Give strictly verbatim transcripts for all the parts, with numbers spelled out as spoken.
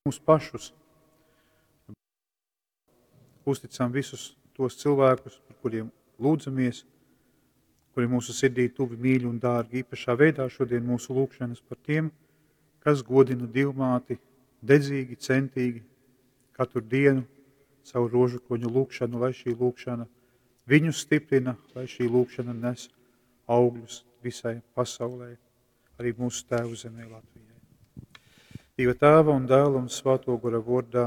Mūs pašus. Uzticam visus tos cilvēkus, par kuriem lūdzamies, kuri mūsu sirdī tuvi, mīļi un dārgi. Īpašā veidā šodien mūsu lūgšanas par tiem, kas godina Dievmāti dedzīgi, centīgi, katru dienu caur rožu kroņu lūgšanu, lai šī lūgšana viņus stiprina, lai šī lūgšana nes augļus visai pasaulē, arī mūsu tēvu zemē Latvijai. Dieva tēva un dēla un svēto gora vārdā.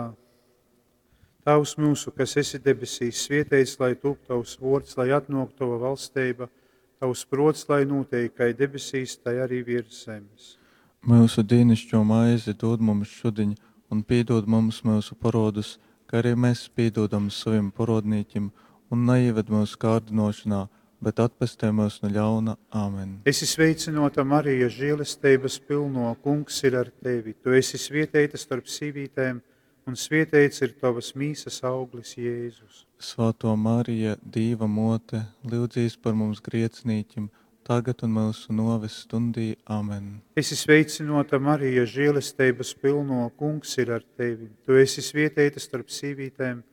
Tēvs mūsu, kas esi debesīs, svietēts, lai tūp tavs vārds, lai atnāk tava valstība, tavs prots, lai notiek, kā debesīs, tai arī virs zemes. Mūsu dīnišķo maizi dod mums šodien, un piedod mums mūsu parodus, kā arī mēs piedodam saviem parodnīkim, un neieved mūsu kārdinošanā, bet atpestē mūs no ļauna. Āmen. Esi sveicināta, Marija, žēlestības pilno, kungs ir ar tevi. Tu esi svietēta starp sīvītēm, un svietēts ir tavas mīsas auglis, Jēzus. Svētā Marija, Dīva mote, lūdzīs par mums griecinīķim, tagad un mūsu noves stundī. Āmen. Esi sveicināta, Marija, žēlestības pilno, kungs ir ar tevi. Tu esi svietēta starp sīvītēm,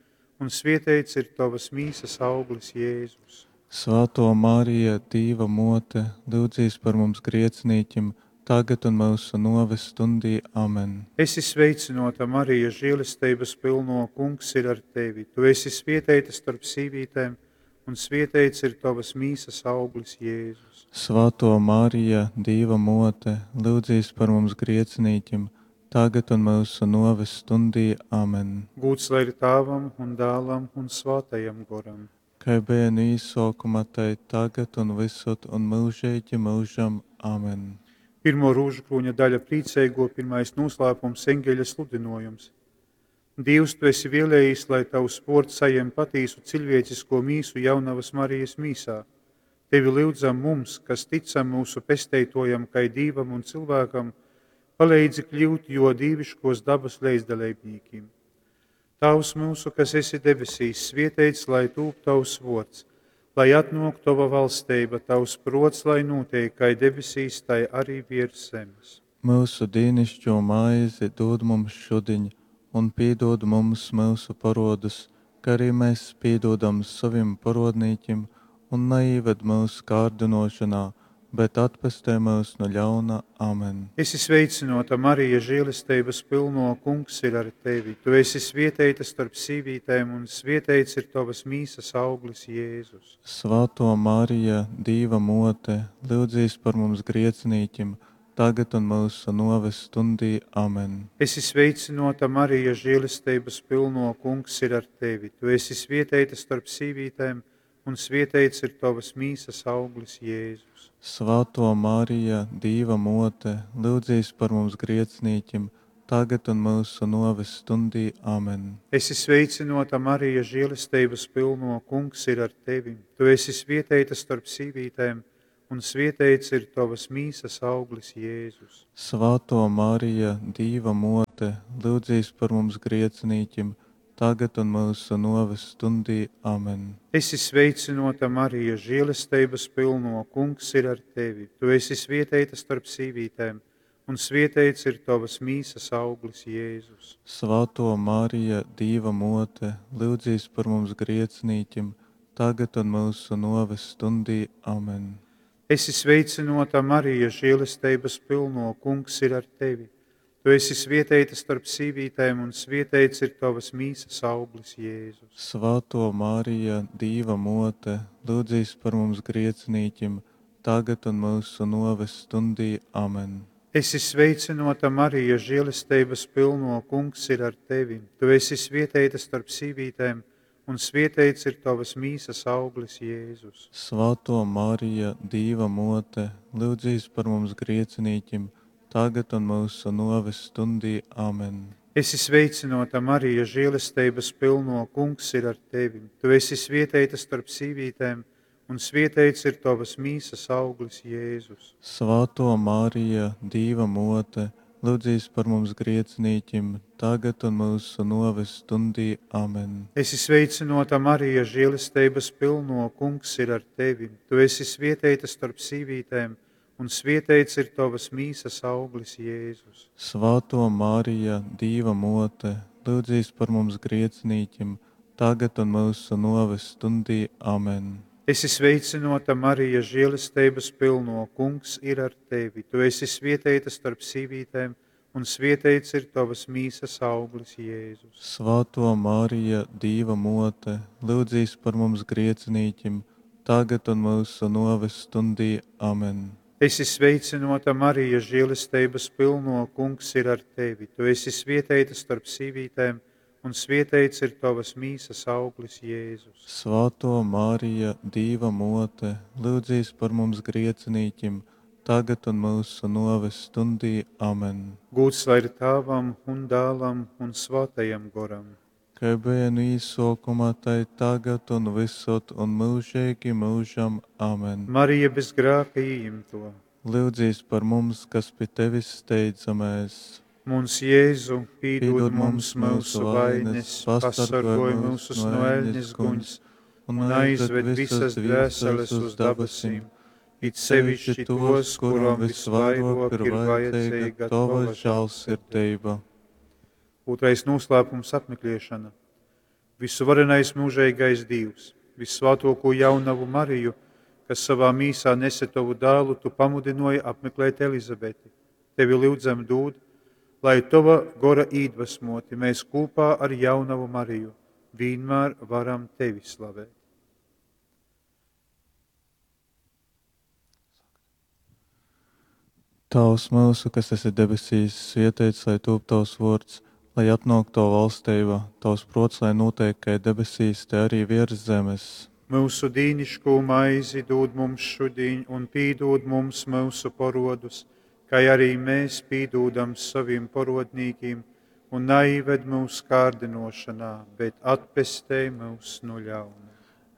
un svietēts ir tavas mīsas auglis, Jēzus. Svētā Marija, Dīva mote, lūdzīs par mums griecinīķim, tagad un mūsu noves stundī. Āmen. Esi sveicināta, Marija, žēlestības pilno, kungs ir ar tevi. Tu esi svietēta starp sīvītēm, un svietēts ir tavas mīsas auglis, Jēzus. Svētā Marija, Dīva mote, lūdzīs par mums griecinīķim, tagad un mūsu noves stundī. Āmen. Gūts lai ir tēvam un dēlam un svētajam goram. Kā bija no īsākuma, tai tagad un visur un mūžīgi mūžam. Āmen. Pirmo rūžu krūņa daļa priecīgo, pirmais noslēpums, eņģeļa sludinojums. Dievs, tu esi vēlējis, lai tavs sports sajem patīsu cilvēcisko mīsu jaunavas Marijas mīsā. Tevi lūdzam mums, kas ticam mūsu pesteitojam, kai dīvam un cilvēkam, palīdzi kļūt jo dīviškos dabas leizdalībnīkim. Tavs mūsu, kas esi debesīs, svietēts, lai tūp tavs vārds, lai atnāk tava valstība, tavs prots, lai notiek, kai debesīs, tai arī virs zemes. Mūsu dīnišķo maizi dod mums šodien, un piedod mums mūsu parodus, kā arī mēs piedodam saviem parodnīķim, un neieved mūsu kārdinošanā, bet atpestē mūs no ļauna. Āmen. Esi sveicināta, Marija, žēlestības pilno, kungs ir ar tevi. Tu esi svietēta starp sīvītēm, un svietēts ir tavas mīsas auglis, Jēzus. Svētā Marija, Dīva mote, lūdzīs par mums griecinīķim, tagad un mūsu noves stundī. Āmen. Esi sveicināta, Marija, žēlestības pilno, kungs ir ar tevi. Tu esi svietēta starp sīvītēm, un svietēts ir tavas mīsas auglis, Jēzus. Svētā Marija, Dīva mote, lūdzīs par mums griecinīķim, tagad un mūsu noves stundī. Āmen. Esi sveicināta, Marija, žēlestības pilno, kungs ir ar tevi. Tu esi svietēta starp sīvītēm, un svietēts ir tavas mīsas auglis, Jēzus. Svētā Marija, Dīva mote, lūdzīs par mums griecinīķim, tagad un mūsu noves stundī. Āmen. Esi sveicināta, Marija, žēlestības pilno, kungs ir ar tevi. Tu esi svietēta starp sīvītēm, un svietēts ir tavas mīsas auglis, Jēzus. Svētā Marija, Dīva mote, lūdzīs par mums griecinīķim, tagad un mūsu noves stundī. Āmen. Esi sveicināta, Marija, žēlestības pilno, kungs ir ar tevi. Tu esi svietēta starp sīvītēm, un svietēts ir tavas mīsas auglis, Jēzus. Svētā Marija, Dīva mote, lūdzīs par mums griecinīķim, tagad un mūsu noves stundī. Āmen. Esi sveicināta, Marija, žēlestības pilno, kungs ir ar tevi. Tu esi svietēta starp sīvītēm, un svietēts ir tavas mīsas auglis, Jēzus. Svētā Marija, Dīva mote, lūdzīs par mums griecinīķim, tagad un mūsu noves stundī. Āmen. Esi sveicināta, Marija, žēlestības pilno, kungs ir ar tevi. Tu esi svietēta starp sīvītēm, un svietēts ir tavas mīsas auglis, Jēzus. Svētā Marija, Dīva mote, lūdzīs par mums griecinīķim, tagad un mūsu noves stundī. Āmen. Esi sveicināta, Marija, žēlestības pilno, kungs ir ar tevi. Tu esi svietēta starp sīvītēm, un svieteits ir tovas mīsas auglis, Jēzus. Svātō Marija, Dīva Mōte, lyudzīs par mums griecinīkim, tagad un myusu nōves stundī. Amen. Esi sveicynōta, Marija, žēlesteibas pylnō, Kungs ir ar tevi. Tu esi svieteita storp sīvītēm, un svieteits ir tovas mīsas auglis, Jēzus. Svātō Marija, Dīva Mōte, lyudzīs par mums griecinīkim, tagad un myusu nōves stundī. Amen. Esi sveicynōta, Marija, žēlesteibas pylnō, Kungs ir ar tevi. Tu esi svieteita storp sīvītēm, un svieteits ir tovas mīsas auglis, Jēzus. Svātō Marija, Dīva Mōte, lyudzīs par mums griecinīkim, tagad un myusu nōves stundī. Amen. Gūds lai ir Tāvam un Dālam un Svātajam Goram. Kai beja nu īsōkuma, tai tagad un vysod un myužeigi myužam. Amen. Marija bez grāka ījimto. Lyudzīs par mums, kas pi tevis steidzamēs. Muns Jēzu, pīdūd Pīdod mums mums myusu myusu vainas, vainas, pasargoj pasargoj mūsus myus no no eļnes eļnes guņs guņs un un aizved aizved visas visas dvēseles dvēseles uz uz dabasim, dabasim, it it sevišķi sevišķi tos, tos, kurom kurom visvairāk visvairāk ir ir vajadzīga vajadzīga tova tova žēlsirdība. žēlsirdība. Otrais noslēpums apmeklēšana. Visuvarenais mūžīgais Dievs, visvētāko jaunavu Mariju, kas savā mīsā nese tavu dēlu, tu pamudināji apmeklēt Elizabeti. Tevi lūdzam dod, lai tava gora iedvesmoti mēs kopā ar jaunavu Mariju vienmēr varam tevi slavēt. Tēvs mūsu, kas esi debesīs, svētīts lai top tavs vārds, lai atnāk tava valstība, tavs prāts, lai notiek kā debesīs, te arī virs zemes. Mūsu dīnišķo maizi dod mums šodien, un pīdod mums mūsu parodus, kā arī mēs pīdodam saviem parodnīkiem, un neived mūsu kārdinošanā, bet atpestē mūs no ļauna.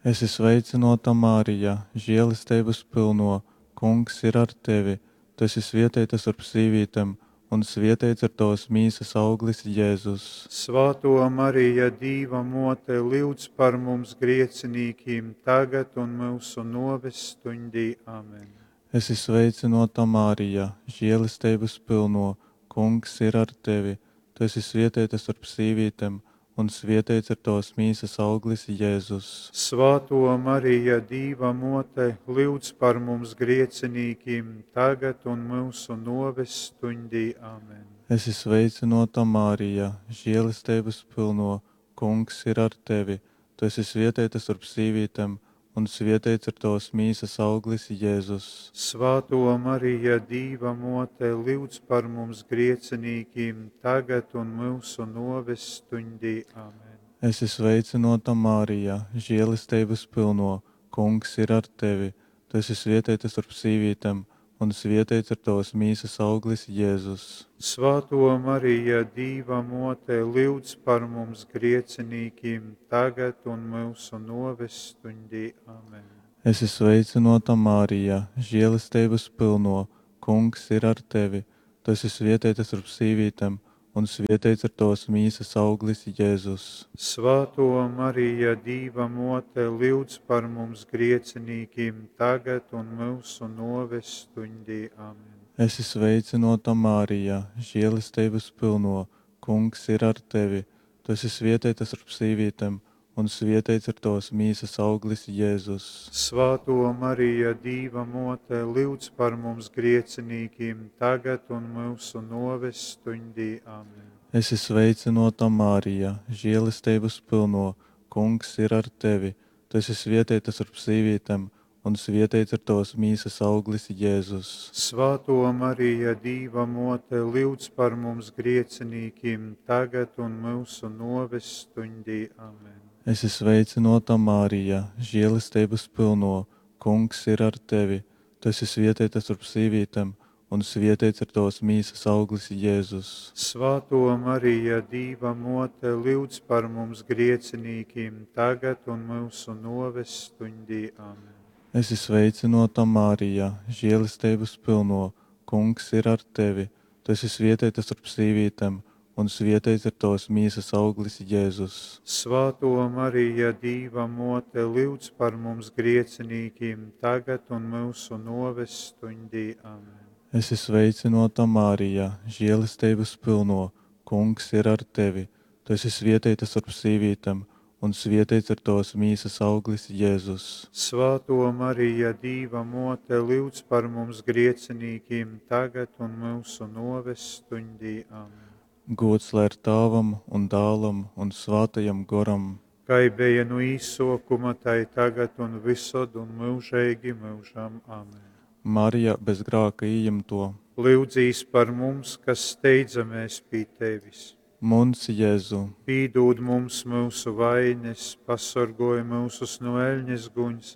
Esi sveicināta, Marija, žēlestības pilno, Kungs ir ar tevi. Tu esi svētīta starp sīvītēm, un svētīts ir tavas mīsas auglis, Jēzus. Svāto Marija, Dīva mote, lūdz par mums griecinīkiem, tagad un mūsu noves stundī. Amen. Esi sveicināta, Marija, žēlestības pilno, Kungs ir ar tevi. Tu esi svētīta starp sīvītēm, un svētīts ir tavas mīsas auglis, Jēzus. Svāto Marija, Dīva mote, lūdz par mums griecinīkiem, tagad un mūsu noves stundī. Amen. Esi sveicināta, Marija, žēlestības pilno, Kungs ir ar tevi. Tu esi svētīta starp sīvītēm, un svētīts ir tavas mīsas auglis, Jēzus. Svāto Marija, Dīva mote, lūdz par mums griecinīkiem, tagad un mūsu noves stundī. Amen. Esi sveicināta, Marija, žēlestības pilno, Kungs ir ar tevi. Tu esi svētīta starp sīvītēm, un svētīts ir tavas mīsas auglis, Jēzus. Svāto Marija, Dīva mote, lūdz par mums griecinīkiem, tagad un mūsu noves stundī. Amen. Esi sveicināta, Marija, žēlestības pilno, Kungs ir ar tevi. Tu esi svētīta starp sīvītēm, un svētīts ir tavas mīsas auglis, Jēzus. Svāto Marija, Dīva mote, lūdz par mums griecinīkiem, tagad un mūsu noves stundī. Amen. Esi sveicināta, Marija, žēlestības pilno, Kungs ir ar tevi. Tu esi svētīta starp sīvītēm, un svētīts ir tavas mīsas auglis, Jēzus. Svāto Marija, Dīva mote, lūdz par mums griecinīkiem, tagad un mūsu noves stundī. Amen. Esi sveicināta, Marija, žēlestības pilno, Kungs ir ar tevi. Tu esi svētīta starp sīvītēm, un svētīts ir tavas mīsas auglis, Jēzus. Svāto Marija, Dīva mote, lūdz par mums griecinīkiem, tagad un mūsu noves stundī. Amen. Esi sveicināta, Marija, žēlestības pilno, Kungs ir ar tevi. Tu esi svētīta starp sīvītēm, un svētīts ir tavas mīsas auglis, Jēzus. Svāto Marija, Dīva mote, lūdz par mums griecinīkiem, tagad un mūsu noves stundī. Amen. Esi sveicināta, Marija, žēlestības pilno, Kungs ir ar tevi. Tu esi svētīta starp sīvītēm, un svietēts ir tavas mīsas auglis, Jēzus. Svātō Marija, Dīva mōte, lyudz par mums griecinīkim, tagad un myusu nōves stuņdī. Amen. Esi sveicynōta, Marija, želesteibas pylnō, Kungs ir ar tevi. Tu esi svieteita storp sīvītem, un svieteits ir tovas mīsas auglis, Jezus. Svātō Marija, Dīva mōte, lyudz par mums griecinīkim, tagad un myusu nōves stuņdī. Amen. Gūds lai ir Tāvam un Dālam un Svātajam Goram. Kai beja nu īsōkuma, tai tagad un vysod un myužeigi myužam. Amen. Marija bez grāka ījimto. Lyudzīs par mums, kas steidzamēs pi Tevis. Muns Jezu, Pīdūd mums myusu vaines, pasorgoj myusus nu eļņas guņs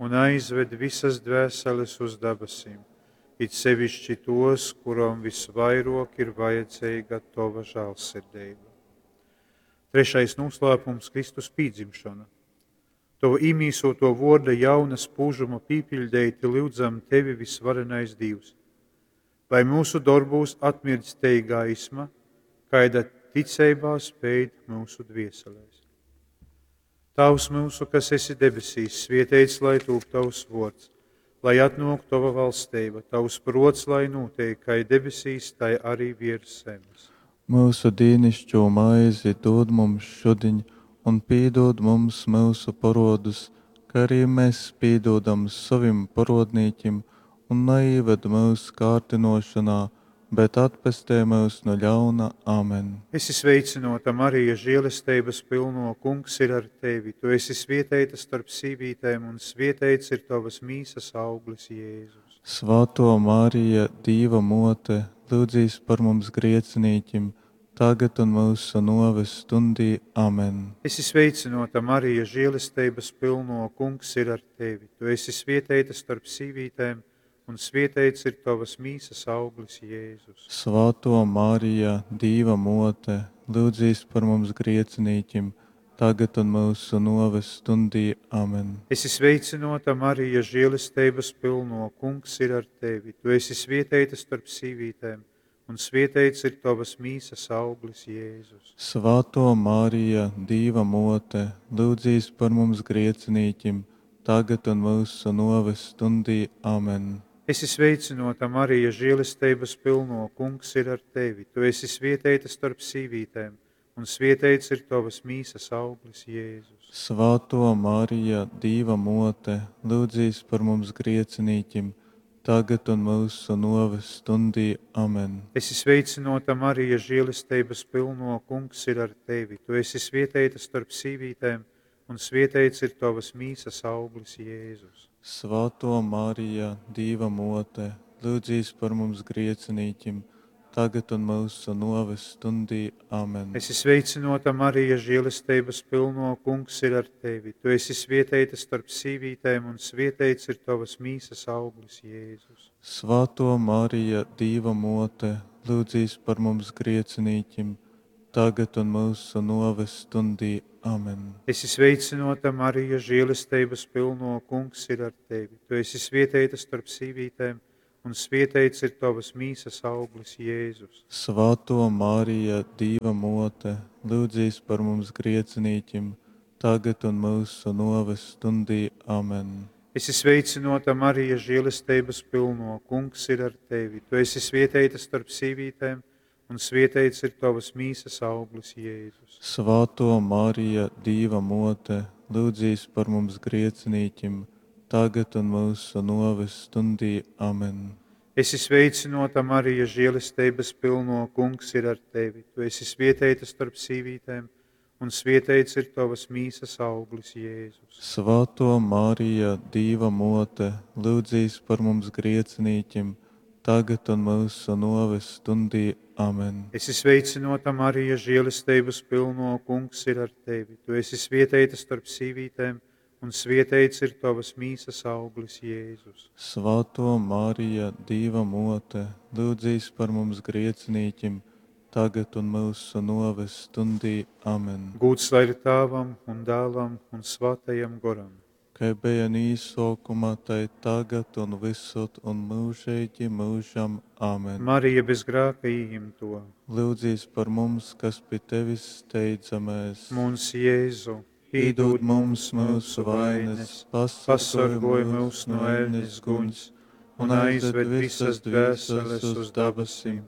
un aizved visas dvēseles uz dabasim, it sevišķi tos, kurom visvairok ir vajadzīga Tova žēlsirdība. Trešais noslēpums – Kristus pīdzimšana. Tova īmīsoto vorda jauna spūžuma pīpiļdeiti lyudzam Tevi, visvarenais Dievs, lai mūsu darbūs atmirdz tei gaisma, kaida ticeibā speid mūsu dvieselēs. Tavs mūsu, kas esi debesīs, svieteits, lai tūp tavs vords, lai atnok tava valstība, tavs prots, lai notiek, kai debesīs, tai arī virs zemes. Mūsu dīnišķo maizi dod mums šudiņ, un pīdod mums mūsu porodus, kā arī mēs pīdodam sovim porodnīkim, un neieved mūsu kārdinošanā, bet atpestej mūs no ļauna. Amen. Esi sveicināta, Marija, žēlestības pilno, Kungs ir ar tevi. Tu esi svietēta starp sīvītēm, un svietēts ir tavas mīsas auglis, Jēzus. Svāto Marija, Dīva mote, lūdzīs par mums griecinīķim, tagad un mūsu noves stundī. Amen. Esi sveicināta, Marija, žēlestības pilno, Kungs ir ar tevi. Tu esi svietēta starp sīvītēm, un svietēts ir tavas mīsas auglis, Jēzus. Svāto Marija, Dīva mote, lūdzīs par mums griecinīķim, tagad un mūsu noves stundī. Amen. Esi sveicināta, Marija, žēlestības pilno, Kungs ir ar tevi. Tu esi svietēta starp sīvītēm, un svietēts ir tavas mīsas auglis, Jēzus. Svāto Marija, Dīva mote, lūdzīs par mums griecinīķim, tagad un mūsu noves stundī. Amen. Esi sveicināta, Marija, žēlestības pilno, Kungs ir ar tevi. Tu esi svietēta starp sīvītēm, un svietēts ir tavas mīsas auglis, Jēzus. Svāto Marija, Dīva mote, lūdzīs par mums griecinīķim, tagad un mūsu noves stundī. Amen. Esi sveicināta, Marija, žēlestības pilno, Kungs ir ar tevi. Tu esi svietēta starp sīvītēm, un svietēts ir tavas mīsas auglis, Jēzus. Svāto Marija, Dīva mote, lūdzīs par mums griecinīķim, tagad un mūsu noves stundī. Amen. Esi sveicināta, Marija, žēlestības pilno, Kungs ir ar tevi. Tu esi svietēta starp sīvītēm, un svietēts ir tavas mīsas auglis, Jēzus. Svāto Marija, Dīva mote, lūdzīs par mums griecinīķim, tagad un mūsu noves stundī. Amen. Esi sveicināta, Marija, žēlestības pilno, Kungs ir ar tevi. Tu esi svietēta starp sīvītēm, un svietēts ir tavas mīsas auglis, Jēzus. Svāto Marija, Dīva mote, lūdzīs par mums griecinīķim, tagad un mūsu noves stundī. Amen. Esi sveicināta, Marija, žēlestības pilno, Kungs ir ar tevi. Tu esi svietēta starp sīvītēm, un svietēts ir tavas mīsas auglis, Jēzus. Svāto Marija, Dīva mote, lūdzīs par mums griecinīķim, tagad un mūsu noves stundī. Amen. Esi sveicināta, Marija, žēlestības pilno, Kungs ir ar tevi. Tu esi svietēta starp sīvītēm, un svietēts ir tavas mīsas auglis, Jēzus. Svāto Marija, Dīva mote, lūdzīs par mums griecinīķim, tagad un mūsu noves stundī. Amen. Esi sveicināta, Marija, žēlestības pilno, Kungs ir ar tevi. Tu esi svietēta starp sīvītēm, un svietēts ir tavas mīsas auglis, Jēzus. Svāto Marija, Dīva mote, lūdzīs par mums griecinīķim, tagad un mūsu noves stundī. Amen. Gūds lai ir Tēvam un Dēlam un Svētajam Goram. Kai beja nu īsōkuma, tai tagad un vysod un myužeigi myužam. Amen. Marija bez grāka ījimto. Lyudzīs par mums, kas pi tevis steidzamēs. Muns Jēzu, Pīdūd mums myusu vainas, pasorgoj mūs no eļnes guņs un aizved visas dvēseles uz dabasim,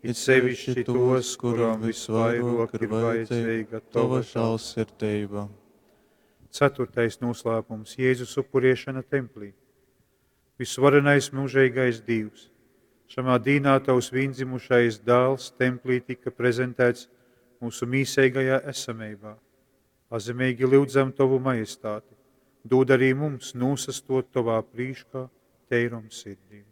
it sevišķi tos, kurām visvairāk ir vajadzīga Tova žālsirdība. Ceturtais noslēpums – Jēzus upuriešana templī. Visvarenais mūžīgais Dievs, šamā dīnā tavs viendzimušais dēls templī tika prezentēts mūsu mīseigajā esamībā. Pazemīgi lūdzam Tavu majestāti, dod arī mums nūsastot Tovā prīškā teirom sirdīm.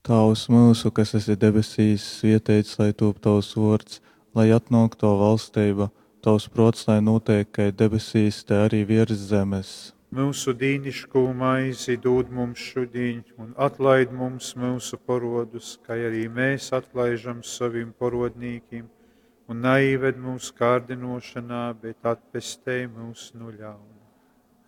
Tēvs mūsu, kas esi debesīs, svētīts lai top tavs vārds, lai atnāk tava valstība, tavs prāts, lai notiek kai debesīs, tai arī virs zemes. Mūsu dīnišķo maizi dod mums šodien, un atlaid mums mūsu porodus, kā arī mēs atlaižam saviem porodnīkiem, un neived mūsu kārdinošanā, bet atpestē mūs no ļauna.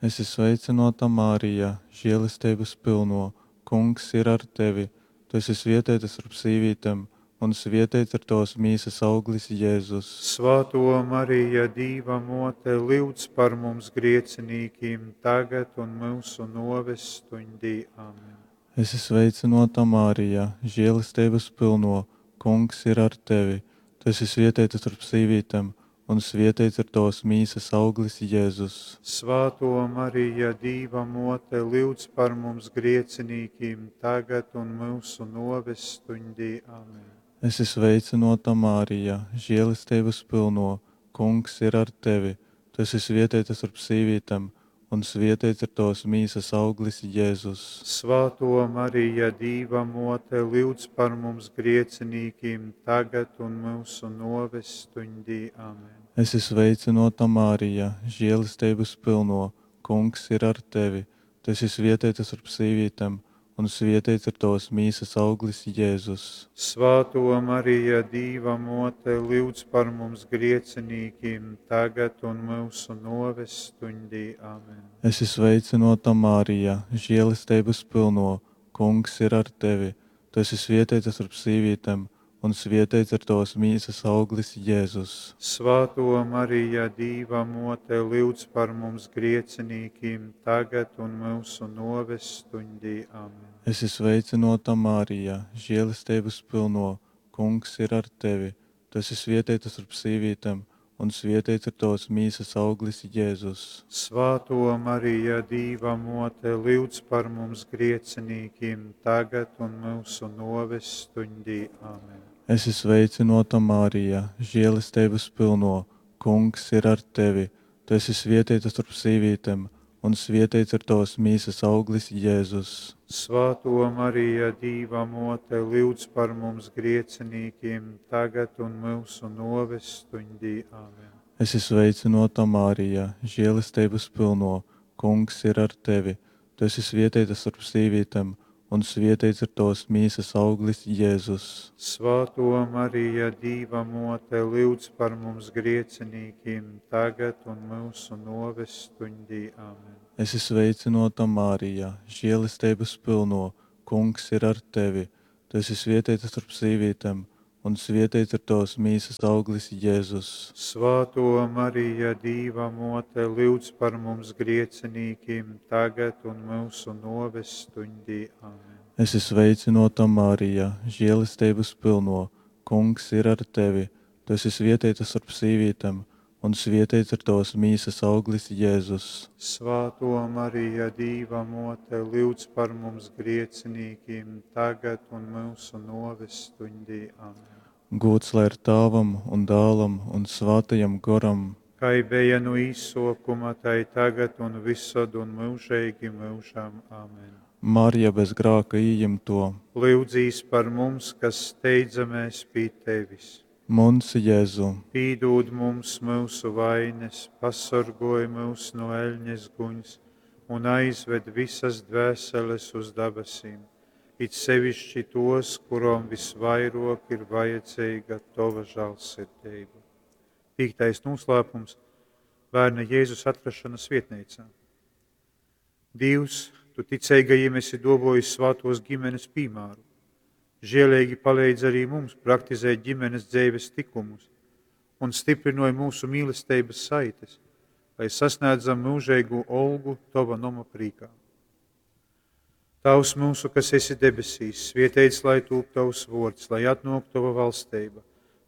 Esi sveicināta, Marija, žēlestības pilno, Kungs ir ar tevi. Tu esi svētīta starp sīvītēm, un svētīts ir tavas mīsas auglis Jēzus. Svētō Marija, Dīva mote, lūdz par mums griecinīkiem, tagad un mūsu noves stundī. Amen. Esi sveicināta, Marija, žēlestības pilno, Kungs ir ar tevi. Tu esi svētīta starp sīvītēm, un svētīts ir tavas mīsas auglis Jēzus. Svētō Marija, Dīva mote, lūdz par mums griecinīkiem, tagad un mūsu noves stundī. Amen. Esi sveicināta, Marija, žēlestības pilno, Kungs ir ar tevi. Tu esi svētīta starp sīvītēm, un svētīts ir tavas mīsas auglis Jēzus. Svētō Marija, Dīva mote, lūdz par mums griecinīkiem, tagad un mūsu noves stundī. Amen. Esi sveicināta, Marija, žēlestības pilno, Kungs ir ar tevi. Tu esi svētīta starp sīvītēm, un svētīts ir tavas mīsas auglis Jēzus. Svētō Marija, Dīva mote, lūdz par mums griecinīkiem, tagad un mūsu noves stundī. Amen. Esi sveicināta, Marija, žēlestības pilno, Kungs ir ar tevi. Tu esi svētīta starp sīvītēm, un svētīts ir tavas mīsas auglis Jēzus. Svētō Marija, Dīva mote, lūdz par mums griecinīkiem, tagad un mūsu noves stundī. Amen. Esi sveicināta, Marija, žēlestības pilno, Kungs ir ar tevi. Tu esi svētīta starp sīvītēm, un svētīts ir tavas mīsas auglis Jēzus. Svētō Marija, Dīva mote, lūdz par mums griecinīkiem, tagad un mūsu noves stundī. Amen. Esi sveicināta, Marija, žēlestības pilno, Kungs ir ar tevi. Tu esi svētīta starp sīvītēm, un svētīts ir tavas mīsas auglis Jēzus. Svētō Marija, Dīva mote, lūdz par mums griecinīkiem, tagad un mūsu noves stundī. Amen. Esi sveicināta, Marija, žēlestības pilno, Kungs ir ar tevi. Tu esi svētīta starp sīvītēm, un svētīts ir tavas mīsas auglis Jēzus. Svētō Marija, Dīva mote, lūdz par mums griecinīkiem, tagad un mūsu noves stundī. Amen. Esi sveicināta, Marija, žēlestības pilno, Kungs ir ar tevi. Tu esi svētīta starp sīvītēm, un svētīts ir tavas mīsas auglis Jēzus. Svētō Marija, Dīva mote, lūdz par mums griecinīkiem, tagad un mūsu noves stundī. Amen. Esi sveicināta, Marija, žēlestības pilno, Kungs ir ar tevi. Tu esi svētīta starp sīvītēm, un svētīts ir tavas mīsas auglis Jēzus. Svētō Marija, Dīva mote, lūdz par mums griecinīkiem, tagad un mūsu noves stundī. Amen. Gūts lai ir Tēvam un Dēlam un Svētajam Goram. Kai bija no īsokuma, tai tagad un visad un mūžīgi mūžam. Amen. Marija bez grāka ījimto. Lūdzīs par mums, kas steidzamies pie tevis. Muns Jēzu, Pīdūd mums mūsu vainas, pasargoj mūs no eļņas guņas un aizved visas dvēseles uz dabasīm, it sevišķi tos, kurom visvairāk ir vajadzīga tava žēlsirdība. Piektais noslēpums – bērna Jēzus atrašana svietnīcā. Dīvs, Tu ticeigajiem esi duovojis svātuos ģimenes pīmāru. Žieleigi paleidz arī mums praktizēt ģimenes dzeives tikumus un stiprynoj mūsu mīlesteibas saites, lai sasniedzam mūžeigu olgu Tova noma prīkā. Tavs mūsu, kas esi debesīs, svieteits, lai tūp Tavs vords, lai atnok Tava valsteiba,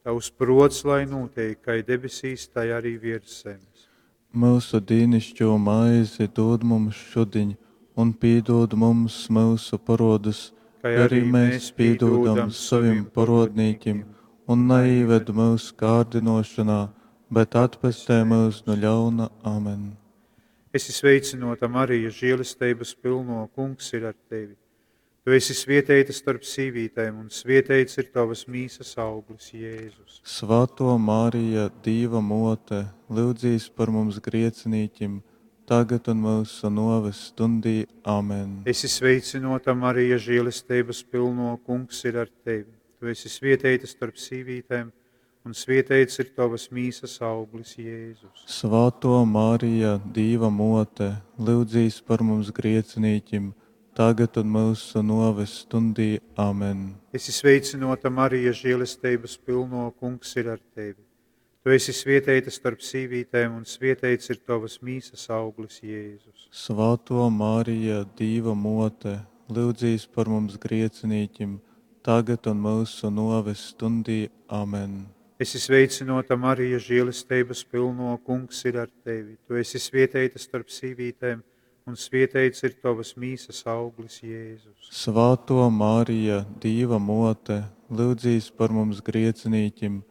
Tavs prots, lai notiek, kai debesīs, tai arī virs zemes. Mūsu dīnišķo maizi dod mums šudiņ, un pīdod mums mūsu parodus, Kai kā arī mēs pīdodam savim parodnīkim, un neīved mūsu kārdinošanā, bet atpestē mūs no ļauna. Amen. Esi sveicinota, Marija, žēlestības pilno, kungs ir ar tevi. Tu esi svieteita starp sīvītēm, un svieteits ir tavas mīsas auglis, Jēzus. Svētā Marija, Dīva mote, lūdzīs par mums griecinīķim, tagad un mūsu noves stundī. Amen. Esi sveicinota, Marija, žēlestības pilno, kungs ir ar tevi. Tu esi svieteita starp sīvītēm, un svieteits ir tavas mīsas auglis, Jēzus. Svētā Marija, Dīva mote, lūdzīs par mums griecinīķim, tagad un mūsu noves stundī. Amen. Esi sveicinota, Marija, žēlestības pilno, kungs ir ar tevi. Tu esi svieteita starp sīvītēm, un svieteits ir tavas mīsas auglis, Jēzus. Svētā Marija, Dīva mote, lūdzīs par mums griecinīķim, tagad un mūsu noves stundī. Amen. Esi sveicinota, Marija, žēlestības pilno, kungs ir ar tevi. Tu esi svieteita starp sīvītēm, un svieteits ir tavas mīsas auglis, Jēzus. Svētā Marija, Dīva mote, lūdzīs par mums griecinīķim,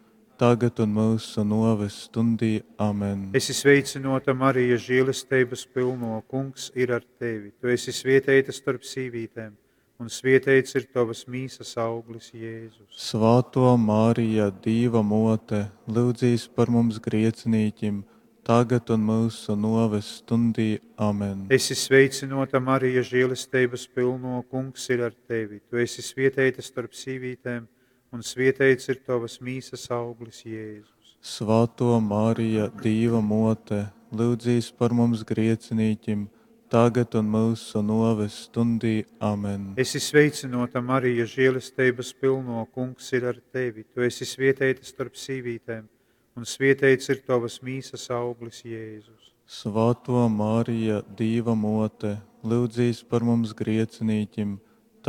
tagad un mūsu noves stundī. Amen. Esi sveicinota, Marija, žēlestības pilno, kungs ir ar tevi. Tu esi svieteita starp sīvītēm, un svieteits ir tavas mīsas auglis, Jēzus. Svētā Marija, Dīva mote, lūdzīs par mums griecinīķim, tagad un mūsu noves stundī. Amen. Esi sveicinota, Marija, žēlestības pilno, kungs ir ar tevi. Tu esi svieteita starp sīvītēm, un svieteits ir tavas mīsas auglis, Jēzus. Svētā Marija, Dīva mote, lūdzīs par mums griecinīķim, tagad un mūsu noves stundī. Amen. Esi sveicinota, Marija, žēlestības pilno, kungs ir ar tevi. Tu esi svieteita starp sīvītēm, un svieteits ir tavas mīsas auglis, Jēzus. Svētā Marija, Dīva mote, lūdzīs par mums griecinīķim,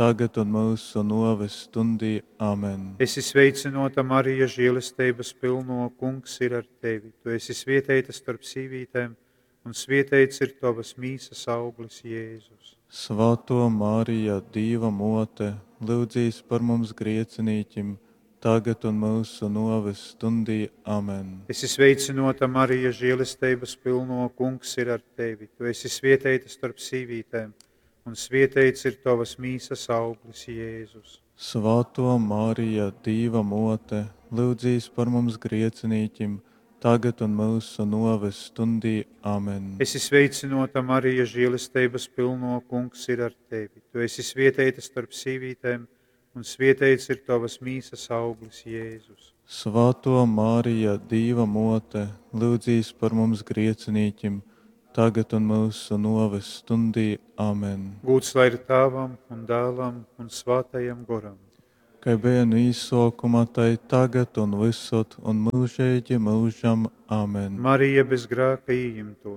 tagad un mūsu noves stundī. Amen. Esi sveicinota, Marija, žēlestības pilno, kungs ir ar tevi. Tu esi svieteita starp sīvītēm, un svieteits ir tavas mīsas auglis, Jēzus. Svētā Marija, Dīva mote, lūdzīs par mums griecinīķim, tagad un mūsu noves stundī. Amen. Esi sveicinota, Marija, žēlestības pilno, kungs ir ar tevi. Tu esi svieteita starp sīvītēm, un svieteits ir tavas mīsas auglis, Jēzus. Svētā Marija, Dīva mote, lūdzīs par mums griecinīķim, tagad un mūsu noves stundī. Amen. Esi sveicinota, Marija, žēlestības pilno, kungs ir ar tevi. Tu esi svieteita starp sīvītēm, un svieteits ir tavas mīsas auglis, Jēzus. Svētā Marija, Dīva mote, lūdzīs par mums griecinīķim, tagad un mūsu noves stundī. Amen. Gūts lai ir Tēvam un Dēlam un Svētajam Goram. Kai bija no īsākuma, tai tagad un visur un mūžīgi mūžam. Amen. Marija bez grēka ieimto.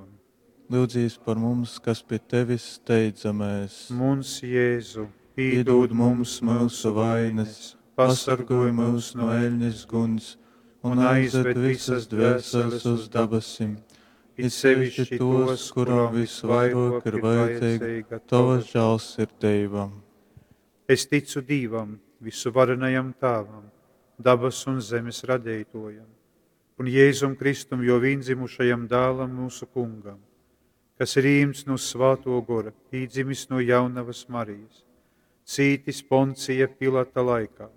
Lūdzīs par mums, kas pie tevis steidzamies. Muns Jēzu, pīdod mums mūsu vainas, pasargoj mūs no eļņas guns un aizved visas dvēseles uz dabasim, it sevišķi tos, kurām visvairāk ir vajadzīga tava žēlsirdība. Es ticu Dievam, visuvarenajam Tēvam, dabas un zemes radītojam, un Jēzum Kristum, jo viendzimušajam dēlam mūsu kungam, kas ir īmts no Svēto gora, pīdzimis no jaunavas Marijas, cītis Poncija Pilata laikā,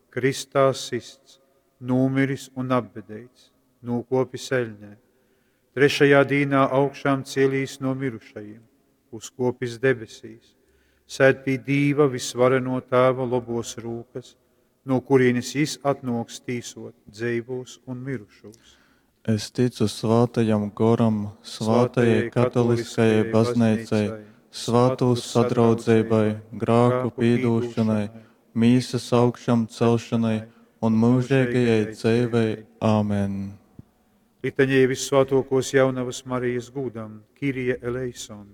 kristā sists, nūmiris un apbedēts, nūkopis eļņē, trešajā dīnā augšām cielīs no mirušajiem, uzkopis debesīs, sēd pie Dīva visvareno Tēva lobos rūkas, no kurienes jis atnoks tīsot dzeivos un mirušos. Es ticu Svētajam Goram, Svētajai katoliskajai baznīcai, svātūs sadraudzeibai, grāku pīdūšonai, mīsas augšamcelšanai un mūžeigajai dzeivei. Āmen. Litaņija Vyssvātuokuos Jaunavys Marijis gūdam. Kyrie eleison.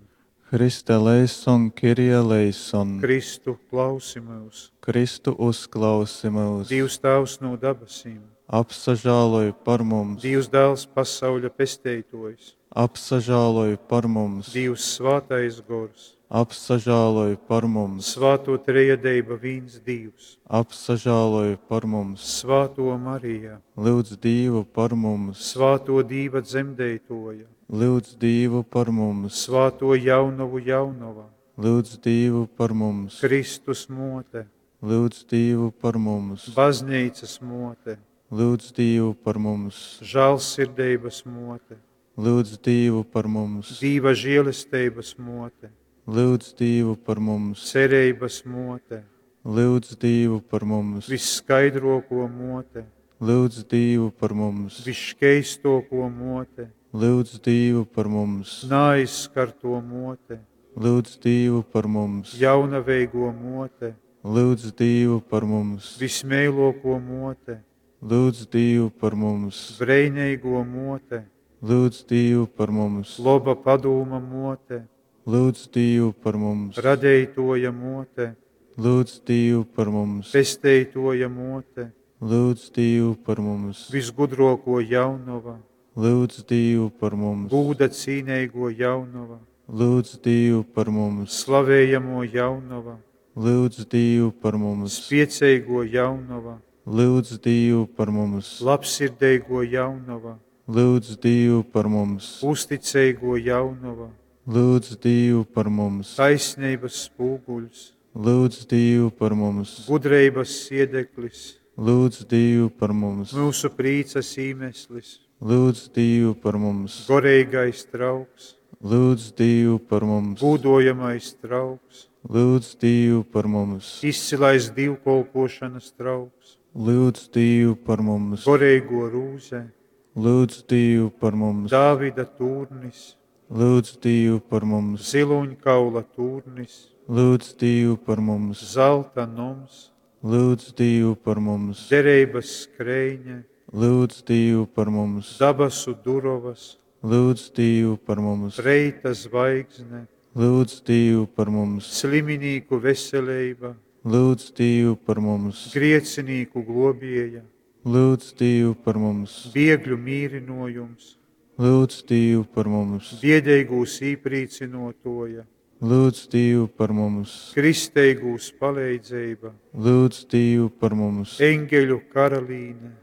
Hriste eleison, Kyrie eleison. Kristu, klausi myus! Kristu, uzklausi myus! Dīvs Tāvs nu dabasim! Apsažāloj par mums! Dīvs Dāls, pasauļa Pesteituojs! Apsažāloj par mums! Dīvs Svātais Gors! Apsažāloj par mums! Svātuo Trejadeiba, vīns Dīvs! Apsažāloj par mums! Svātuo Marija! Lyudz Dīvu par mums! Svātuo Dīva dzemdeituoja! Lyudz Dīvu par mums! Svātuo Jaunovu Jaunova! Lyudz Dīvu par mums! Kristus muote! Lyudz Dīvu par mums! Bazneicys muote! Lyudz Dīvu par mums! Žālsirdeibys muote! Lyudz Dīvu par mums! Dīva žielesteibys muote! Lyudz Dīvu par mums! Cereibys muote! Lyudz Dīvu par mums! Vysskaidruokuo muote! Lyudz Dīvu par mums! Vysškeistuokuo muote! Lyudz Dīvu par mums! Naaizskartuo muote! Lyudz Dīvu par mums! Jaunaveiguo muote! Lyudz Dīvu par mums! Vysmeiluokuo muote! Lyudz Dīvu par mums! Breineiguo muote! Lyudz Dīvu par mums! Loba padūma muote! Lyudz Dīvu par mums! Radeituoja muote! Lyudz Dīvu par mums! Pesteituoja muote! Lyudz Dīvu par mums! Vysgudruokuo jaunova! Lyudz Dīvu par mums! Gūda cīneiguo jaunova! Lyudz Dīvu par mums! Slavejamuo jaunova! Lyudz Dīvu par mums! Spieceiguo jaunova! Lyudz Dīvu par mums! Labsirdeiguo jaunova! Lyudz Dīvu par mums! Uzticeiguo jaunova! Lyudz Dīvu par mums! Taisneibys spūguļs! Lyudz Dīvu par mums! Gudreibys siedeklis! Lyudz Dīvu par mums! Myusu prīcys īmeslis! Lyudz Dīvu par mums! Goreigais trauks! Lyudz Dīvu par mums! Gūdojamais trauks! Lyudz Dīvu par mums! Izcilais dīvkolpuošonys trauks! Lyudz Dīvu par mums! Goreiguo rūze! Lyudz Dīvu par mums! Dāvida tūrnis! Lyudz Dīvu par mums! Zilūņkaula tūrnis! Lyudz Dīvu par mums! Zalta noms! Lyudz Dīvu par mums! Dereibys skreine! Lyudz Dīvu par mums! Dabasu durovys! Lyudz Dīvu par mums! Reita zvaigzne! Lyudz Dīvu par mums! Sliminīku veseleiba! Lyudz Dīvu par mums! Griecinīku gluobieja! Lyudz Dīvu par mums! Biegļu mīrynuojums! Lyudz Dīvu par mums! Biedeigūs īprīcynuotuoja! Lyudz Dīvu par mums! Kristeigūs paleidzeiba! Lyudz Dīvu par mums! Eņgeļu karalīne!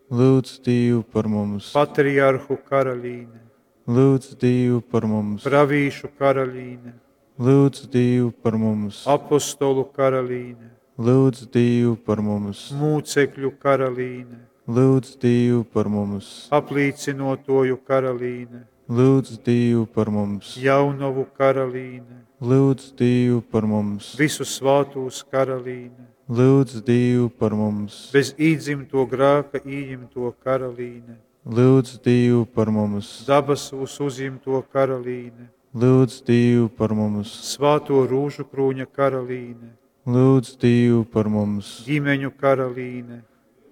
Lyudz Dīvu par mums! Patriarhu karalīne! Lyudz Dīvu par mums! Pravīšu karalīne! Lyudz Dīvu par mums! Apostolu karalīne! Lyudz Dīvu par mums! Mūcekļu karalīne! Lyudz Dīvu par mums! Aplīcynuotuoju karalīne! Lyudz Dīvu par mums! Jaunovu karalīne! Lyudz Dīvu par mums! Visu svātūs karalīne! Lyudz Dīvu par mums! Bez īdzimtuo grāka ījimtuo karalīne! Lyudz Dīvu par mums! Dabasūs uzjimtuo karalīne! Lyudz Dīvu par mums! Svātuo rūžukrūņa karalīne! Lyudz Dīvu par mums! Ģimeņu karalīne!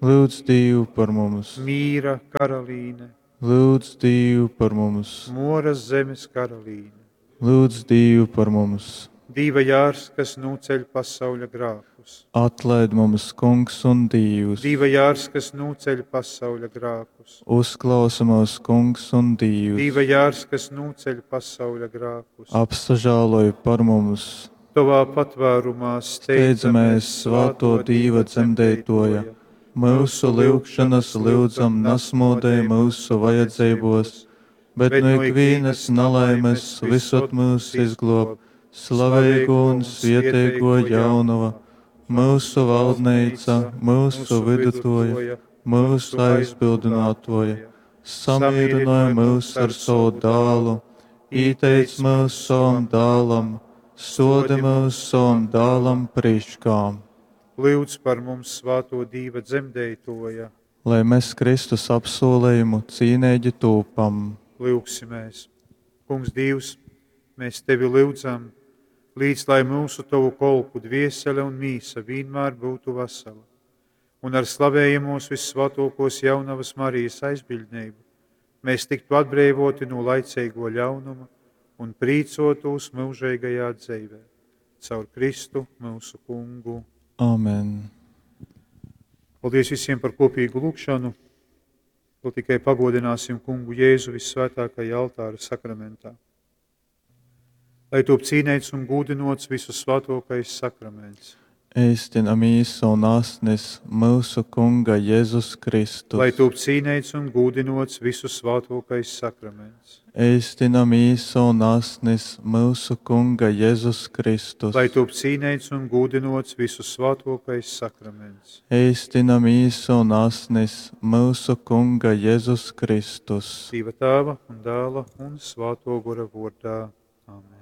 Lyudz Dīvu par mums! Mīra karalīne! Lyudz Dīvu par mums! Muoras zemes karalīne! Lyudz Dīvu par mums! Dīva jārs, kas nūceļ pasauļa grākus. Atlaid mums, Kungs un Dīvs! Dīva jārs, kas nūceļ pasauļa grākus. Uzklausi mūs, Kungs un Dīvs! Dīva jārs, kas nūceļ pasauļa grākus. Apsažāloj par mums! Tovā patvērumā Steidzamies, svāto Dīva dzemdeitoja, myusu lyugšanas lyudzam nasmodej myusu vajadzeibos, bet nu ikvīnas nalaimes visod myus izglob, slaveigō un svieteigō jaunova, myusu valdneica, myusu vidutoja, myusu aizbildinātoja, samīrināja myus ar savu dālu, īteic myus savam dālam, sodi myus savam dālam priškā. Lūdz par mums svāto Dīva dzemdeitoja. Lai mēs Kristus apsolējumu cīneigi tūpam. Lūgsimies. Kungs Dievs, mēs Tevi lūdzam, Līc, lai mūsu Tovu kolpu dviesele un mīsa vienmēr būtu vesela, un ar slavējamos vissvētākos jaunavas Marijas aizbildnību mēs tiktu atbrīvoti no laicīgo ļaunuma un prīcotos mūžīgajā dzīvē. Caur Kristu mūsu kungu. Amen. Paldies visiem par kopīgu lūgšanu. Vēl tikai pagodināsim kungu Jēzu vissvētākajā altāra sakramentā. Lai top cīnēts un gūdinots visu svētākais sakraments. Eistina mīsa un asnis mūsu Kunga Jēzus Kristus. Lai top cīnēts un gūdinots visu svētākais sakraments. Eistina mīsa un asnis mūsu Kunga Jēzus Kristus. Lai top cīnēts un gūdinots visu svētākais sakraments. Eistina mīsa un asnis mūsu Kunga Jēzus Kristus. Dieva tēva un dēla un svēto gora vārdā. Amen.